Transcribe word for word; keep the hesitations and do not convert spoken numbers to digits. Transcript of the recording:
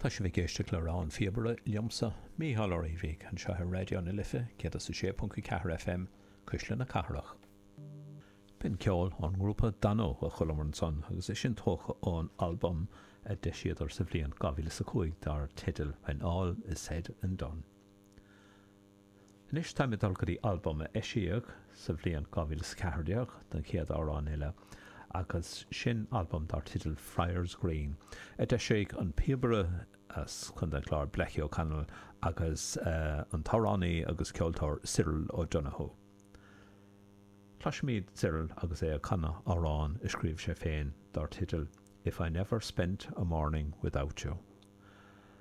Tá sibh ag éisteacht le Rogha an Phíobaire liomsa, Mícheál Ó Riabhaigh, anseo ar Raidió na Life céad is a sé ponc a ceathair FM, Cuisle na Cathrach. B'in ceol ón ngrúpa Danú a chualamar ansan agus é sin tógtha ón albam a d'eisíodar sa bhliain dhá mhíle is a cúig dar teideal When All Is Said and Done. Anois táim ag dul go dtí albam a eisíodh sa bhliain dhá mhíle is a ceathair déag don chéad amhrán eile agus sin albam dar teideal Friars Green a d'eisigh an píobaire as Contae an Chláir Blackie O'Connell agus an t-amhránaí agus ceoltóir Cyril O'Donoghue. Cloisfimid Cyril agus é ag canadh amhrán a scríobh sé féin dar teideal If I Never Spent a Morning Without You.